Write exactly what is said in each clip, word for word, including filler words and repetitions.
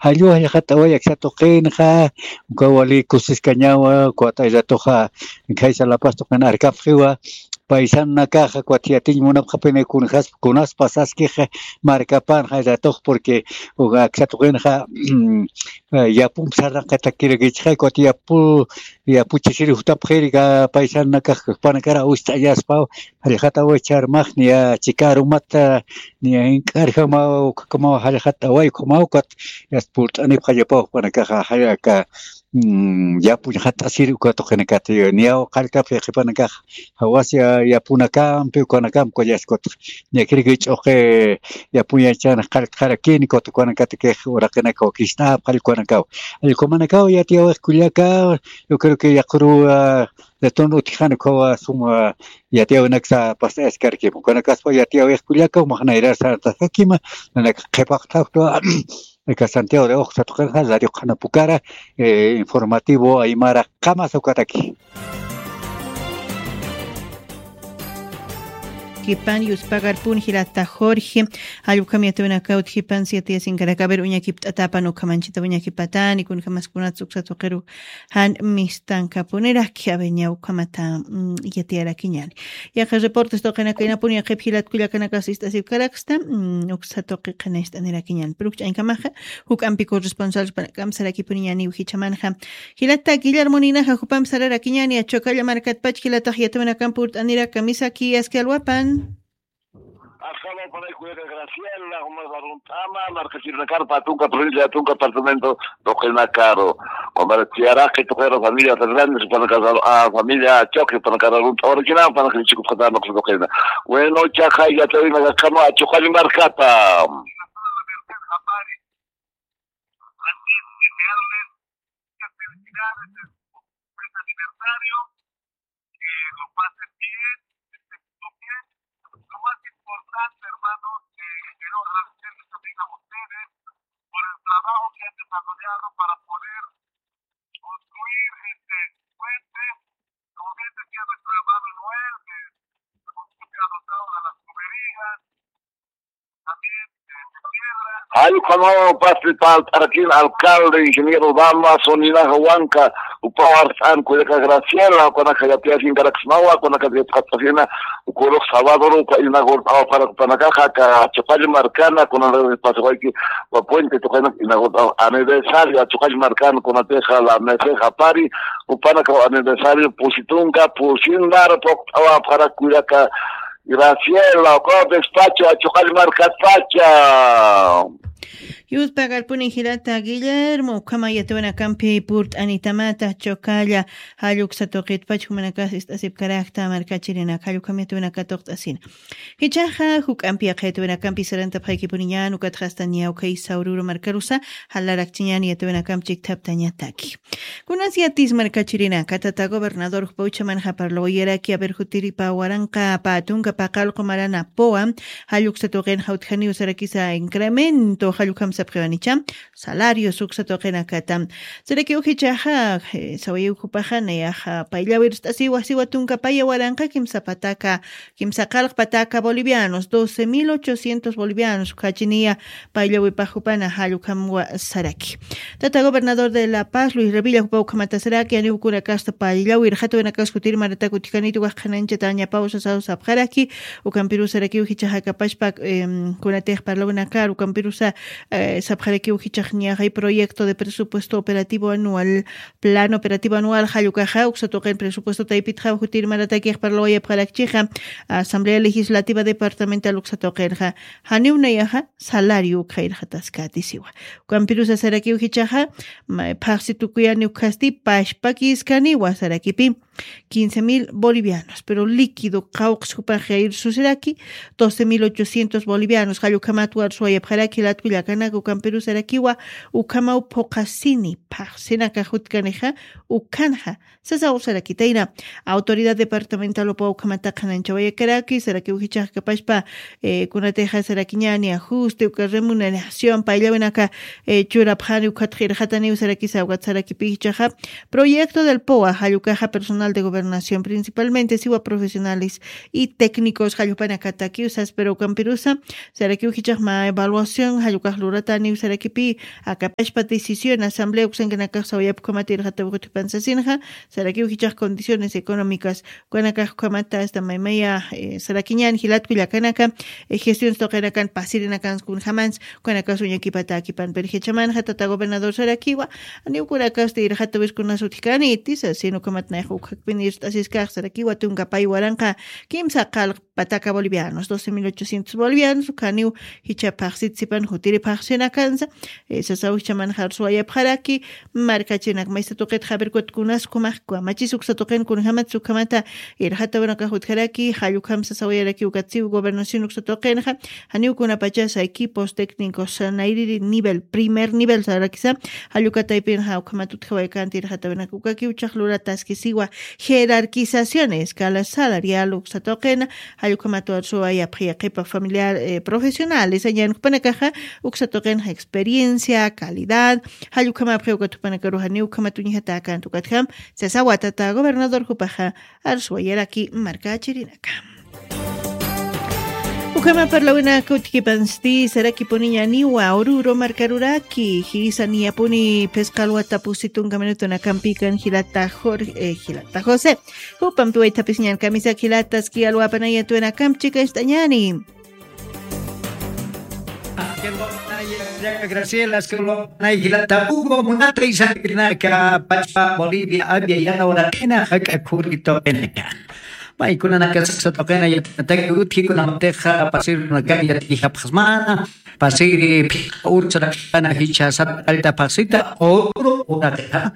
Jallu jallxat'away aksa tuqinxa, uka wali kusiskañawa, ukat ay ratuxa khaysa La Paz tuqin arkapxiwa, paisanakaxa ukat yatiñ munapxapini kunaspa saskix markapanxa ay ratux, porque uka aksa tuqinxa yapump sarnaqatakirakichxa, ukat yapu yapuchisiri jutapxiri ka paisanakax jupanakara awist'añaspaw, jallxat'away charmax niya chika arumata niya ink'arjamaw ukhakamaw jallxat'away ukhamaw ukat yasta purt'anipxallapaw jupanakaxa jallaka. Yapuñxat'asiri uka tuqinakata niyaw qalltapxi qhipanakax jawasa yapunakampi ukanakampi kullaskutx. Ñakiriki ch'uqi yapuñachan qalltxarakini ukat ukanakatakix uraqinaka wakist'apxall ukanakaw. Allkumanakaw yatiyawix kullaka, yo creo que yaquru de ton utjana ukawa suma yatiyawinaksa past'ayaskarkima ukanakaspa yatiyawix kullaka umaxnayrar sartaskakima. Nanaka qhipaqt'awktwa aka Santiago de Oxsa tuqinxa radio qhanapukara informativo aymara qamasa ukataki. Kipan yuspagarpun jilata Jorge, jallukam yatawinakawt jipan siete yasinkaraka a ver uñakipt'atapan ukhamanchita uñakipatani kunjamaskunat suksa tuqiru jan mistankapuniraki aveña ukhamata. Yatiyarakiñani. Yaqa reportes tuqinakaynapuni yaqip jilat kullakanakas ist'asipkaraksta uksa tuqi qhinayst'anirakiñani pero ukch'añkamaxa juk'ampi corresponsal jupanakam sarakipuniñani ujichamanxa. Jilata guillermo ninaxa jupamp sararakiñani achukalla markatpach jilatax yatawinakamp urt'aniraka misaki aski alwapan. Asalaw panay kuyaka Graciela jumas arunt'ama markachirinakar patunka provincia atunka apartamento tuqinakaru. Compartiyaraki tuqira familia fernández panakasar familia choque panakar arunt'awarakina panakrichikutqatama tuqina. Bueno chaqa yatawinakakama achuqalli markata. Felicidades en su mes aniversario, que lo pasen bien, que se sientan bien. Lo más importante, hermanos, que quiero agradecerles también a ustedes por el trabajo que han desarrollado para poder construir este puente. Como bien decía nuestro hermano Noel, que hemos adoptado a las tuberías, Jallq'amaw pasti palt'arakin alcalde ingeniero Dama soninaja wanka upaw arst'an kullaka Graciela ukanaka yatiyasinkarakismawa ukanaka yatqat'asina. Ukurux sabadoro uka inagurt'awa parak upanakaxa aka achuqall markana kunanaka pasawayki uka puente tuqanak inagurt'awa aniversario achuqall markana kunatixa la meseja pari upanaka aniversario pusitunka pusin mara puqt'awa parak kullaka. Graciela ukaw despacho achuqall markatpacha. Yuspagarpuni jilata Guillermo ukhama yatawinakampi purt'anitamata chukalla. Jalluksa tuqitpach jumanakas ist'asipkarakta markachirinak jallukam yatawinaka tuqt'asina. Jichaxa juk'ampi yaqha yatawinakampi sarantapxaykipuniñan ukatxasta niya ukhay sawruru markarusa jalarakchiñan yatawinakamp chikthaptañataki. Kunas yatis markachirinaka tata gobernador jupa uchamanxa parlawayaraki aver jutiripa waranqa patunka paqallqu marana puwa jalluksa tuqinxa utjaniw sarakisa incremento jallukam sapxiwanicha. Salarios uksa tuqinakata sarakiw jichaxa sawayiw jupaxa nayaxa payllawirst'asiwa siwa tunka paya waranqa kimsa pataka kimsa qallq pataka bolivianos doce mil ochocientos bolivianos ukhachiniya. Payllawipax jupana jallukhamwa saraki. Tata gobernador de la paz luis revilla jupa ukhamata saraki aniw kunakasta payllawir jatuwinakas jutir maratak utjanitu wajqhanañchata añapaw sasaw sapxaraki. Ukampirusa sarakiw jichaxa kapashpa kunatix parlawinakar ukampirusa sapxarakiw jichax ñaxay proyecto de presupuesto operativo anual plano operativo anual jallukaxa uksa tuqin presupuesto taypitxa jutir maratakix parlawayapxarakchixa. Asamblea legislativa departamental uksa tuqinxa janiw nayaxa salario ukxayrxataskatisiwa. Ukampirusa sarakiw jichaxa phaxsi tukuyani ukhasti pashpakiskaniwa sarakipi quince mil bolivianos pero líquido qawqs jupax jayr susiraki doce mil ochocientos bolivianos jallukhamat warsuwayapxaraki latkullakanaka ukampirusarakiwa. Ukhamaw phuqasini phaxsinaka jutkanixa. Ukhanxa sasa usarakitayna autoridad departamental upa ukhamata qhananchawayakaraki sarakiw jichax kapashpa kunatixa sarakiñani ajuste uka remuneración payllawinaka churapxani ukhatxirxataniw sarakisa ukat sarakipi jichaxa proyecto del poa jallukaxa personal de gobernación principalmente siwa profesionales y técnicos jallupanakatakiw saspira ukampirusa. Sarakiw jichaq mä evaluación jallukax lurataniw sarakipi akapashpa decisión asamblea uksankanakax sawayapkamatirxata wikutipan sasinxa. Sarakiw jichaq condiciones económicas ukanakax ukhamata asta maymaya sarakiñan jilatku llakanaka gestions tuqinakan pasirinakan kunjamansa. Ukanakas uñakipata akipan pirjichamanxa tata gobernador sarakiwa. Aniw ukunakasta irxata wiskunas utjkani tisa sino ukhamat nayxa ukjakpin irt'asiskax sarakiwa tunka pay waranqa kimsa qalq pataka bolivianos doce mil ochocientos bolivianos ukhaniw jicha phaxsit sipan jutiri phaxsinakansa. Sasaw jichamanxa arsuwayapxaraki markachinak maysa tuqit javer kutkunas kumax kamachis uksa tuqin kunjamat sukhamata irxata urakax utjaraki jallukhamsa sawayaraki ukatsiw gobernación uksa tuqinxa. Janiw kunapachasa equipos técnicos nayriri nivel primer nivel sarakisa jallukataypinxa ukhamat utjawaykanta irxata uraka ukakiw chaq lurataskisiwa jerarquización escala salarial uksa tuqina. Jallukhamat arsuwayapxa yaqipa familiar profesionales añankupanakaxa uksa tuqinxa experiencia calidad jallukhamapxi ukatupanakaruxaniw ukhamat uñjatäkanta ukatjam. Sasawa tata gobernador jupaxa arsuwayaraki markachirinaka. Ukhama parlawinaka utjipansti sarakipuniñaniwa ururu markaruraki jisa niyapuni phisqa alwata pusi tunka minutunakampikan jilata jorge jilata josé. Jupampi waythapisiñan kamisak jilataski alwapanayatuwinakamp chikacht'añani. Graciela skulwanay jilata hugo munata isakrinaka pachpa bolivia avia yana uraqina jak'a khurito qinaka. Maykunanaka sasa tuqina yatanataki utjikunamatixa pasirunakani yatijapxasmana pasiri phika urchuraqipana jichha sata qallta phaxsita uru uraqita.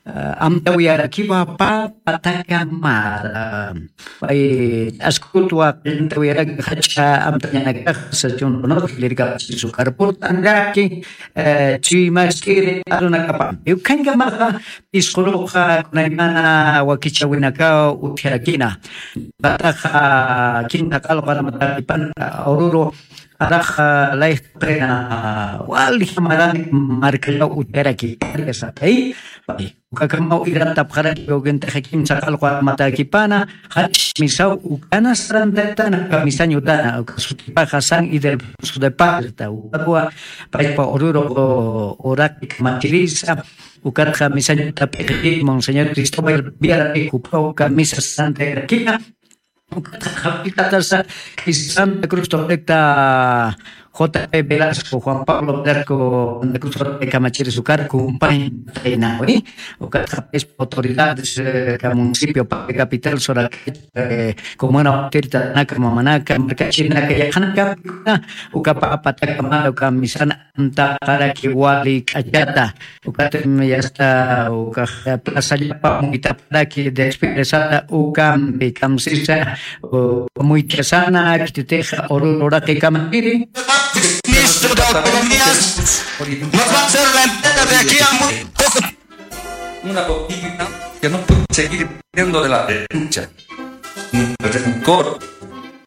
Amtawiyarakiwa papa takamara pay askutwa qillantawiyaraki jach'a amtañanakaxa sachunkunata lirkapasisu karpurtanraki. Chuymaskiri arunakapampi ukhankamaxa pisquruxa kunaymana wakichawinakaw utjarakina. Pataxa kinta qalqu armatakipanta ururu araxa layqtaqina wali jamaran markallaw utjaraki karkasatay. Ukakamaw irantapxaraki ukintaxa kimsa qalqu armatakipana jach'a misaw ukana sarantaktana uka misañutana uka sutipaxa san idelfonso de parta ukawa paypa ururu uraqi kamachirisa. Ukatxa misañuta p'iqipik monseñor cristóbal viarapik uka misa sarantaykakina. Ukatxa qhapilltatasa santa cruz torrecta jp velasco juan pablo velasco santa cruz torrecta kamachiris ukar kumpaña taynawi. Ukatxa payspa autoridades ka municipio paqi capital soraka comuna utiritanaka mamanaka markachirinaka yaqhanakapikuna uka papa takamara uka misana amtaqaraki wali k'achata. Ukatim yasta ukax plazallapa muytapxaraki despidesata ukampi kamsisa muychasana kititixa ururu uraqi kamakiri. Ministro de Autonomías nos va a hacer la entrega de aquí a muy poco. Una política que no puede seguir viviendo de la denuncia, ni del rencor,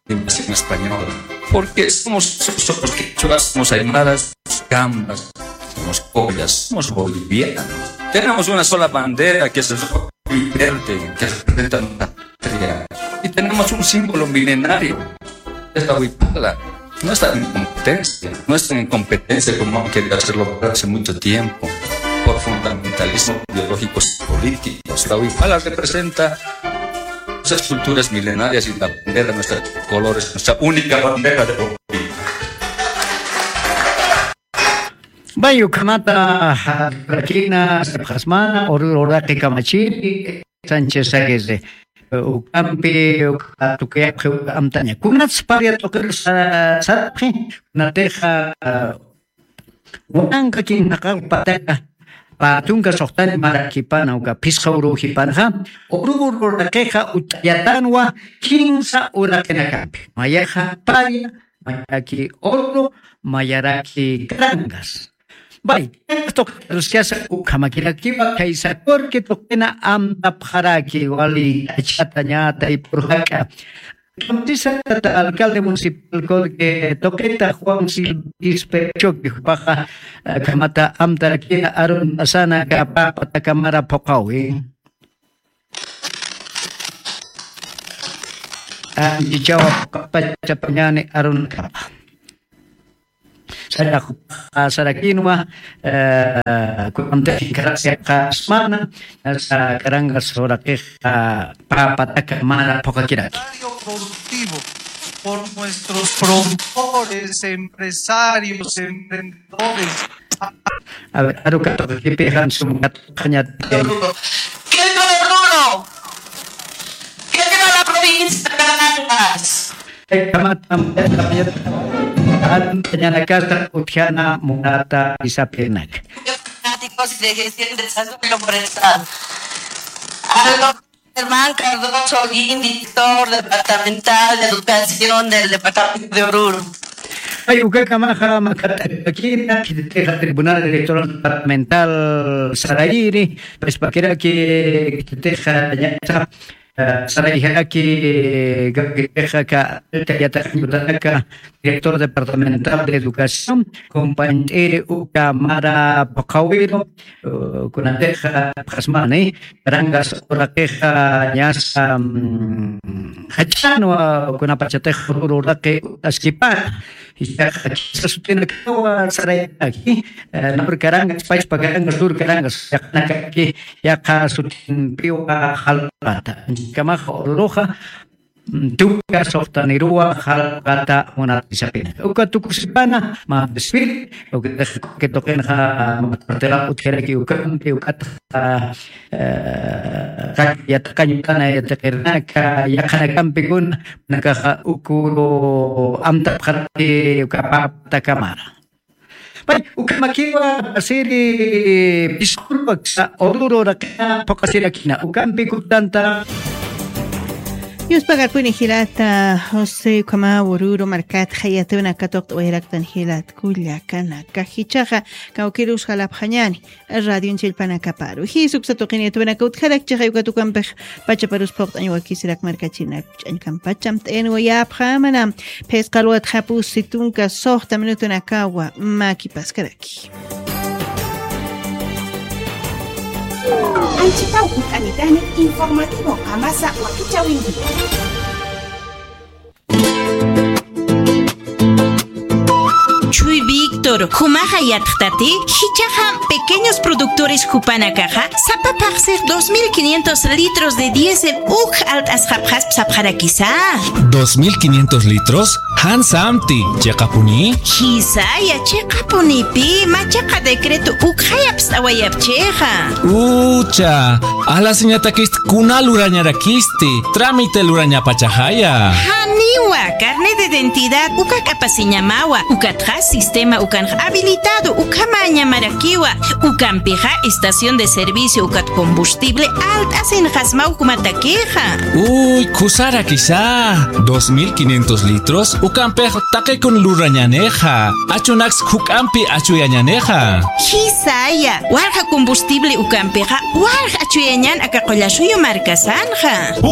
de invasión española. Porque somos, somos quechuas, somos aymaras, somos cambas, somos copias, somos bolivianos. Tenemos una sola bandera que es el rojo y verde, que representa nuestra patria. Y tenemos un símbolo milenario, es la huipala. No están en competencia, no están en competencia como han querido hacerlo por hace mucho tiempo, por fundamentalismo ideológicos políticos. La huipala representa esas culturas milenarias y la bandera, nuestros colores, nuestra única bandera de Bolivia. Vay ukhamata rakina sapxasmana ururu uraqi kamachiri. Sánchez Aguirre ukampi tukuyapxi uka amtaña kunats paria tuqir sarapxi. Kunatixa wananka kinaqal pataka patunka suxtani marakipana uka phisqa uruw jipanxa ururu uraqixa ut'ayatanwa kinsa uraqinakampi mayaxa paria mayaraki uru mayaraki karangas. Bay tuqita ruskasa ukhamakirakiwa khaysa kurki tuqina amtapxaraki wali achata ñatay purjaka. Kamtisatata alcalde municipal kurki tuqita juan silvispe chuki jupaxa khamata amtarakina arunasana kapapatakamara phuqawi. Anchichawa pachapañani arunakapa. Sarakinwa, eh, kunantakin gracias kasmana, sa karanga suraqiqa, papataka mara phuqakiraki. Productivo por nuestros productores, empresarios, emprendedores. A ver, aru katuqakipi jan sum katuqañat. ¿Qué tal, Bruno? ¿Qué tal la provincia de Carangas? Kamatam, antañanakasta utjana munata isapinak. Fanáticos y de gestión de salud lombrezal. Aldo Germán Cardoso Holguín, director departamental de educación del departamento de Oruro. Ay, ukakamaxa makatakina, khititixa Tribunal Electoral Departamental sarayiri, pues, pakiraki, khititixa, ña, eh, sarayjaki, eh, gabinetixa ka, alta yataqañ utanaka, director departamental de educación, compañero uka mara phuqawiro, eh, kunatixa, pasmani, karangas uraqixa, ñasa, mm, jachanwa, kunapachatix uraqi askipata. Jichhaxa, quizás sutinakawa saraytaki, eh, norkarangas, pachpa karangas, surkarangas, yaqhanakaki, yaqha sutinpiwa jalpata. Anchikamaxa ururuxa, mm, tuka suxtaniruwa jalpata munat isapina. Uka tukusipana, mä desfile, uka tuqinxa, mä cartela utjaraki ukampi, ukat eh, yataqañ utana yatiqirinaka, yaqhanakampikuna, nakaxa ukuru amtapxaraki uka papatakamara. Pay, ukamakiwa asiri pisqurwa ksa ururu raqina phuqasirakina, ukampi kutanta. Yuspagarpuni jilata, José, ukhama ururu markat jayatuna katuqt'awayaraktan jilat, kullakanaka jichhaxa, kawkirus jalapxañani. Radion chillpanakaparu. Jisuksa tuqinituwanaka utjarak chiqay uka tukampix pachaparus phuqt'añ wakisirak markachinak ch'añkampacham t'ayanwayapxamana. Phisqa luwat japus situnka suxta minutunakawa makipaskaraki. Anchitaw utanitani informativo amasa wakichawinki. Chuy Víctor, jumaxa yatxtati, jichhaxa pequeños productores jupanakaxa, sapa phaxsix dos mil quinientos litros de diésel uk alt'asxapxasp sapxarakisa. ¿Dos mil quinientos litros? Jan samti, ¿chiqapuni? Jisaya, chiqapunipi, machaqa decreto ukxayapst'awayapchixa. Ucha, alasiñatakist kuna lurañarakisti, trámite lurañapachaxaya. Janiwa, carnet de identidad, uka k'apasiñamawa, ukatxa sistema ukanx habilitado, ukhamañamarakiwa, ukampixa estación de servicio, ukat combustible, alt'asinxasmaw jumatakixa. Uy, khusarakisa, dos mil quinientos litros, ukampix taqikun lurañanixa, achunaks juk'ampi achuyañanixa. Jisaya, walja combustible ukampixa, walja achuyañan aka qullasuyu markasanxa.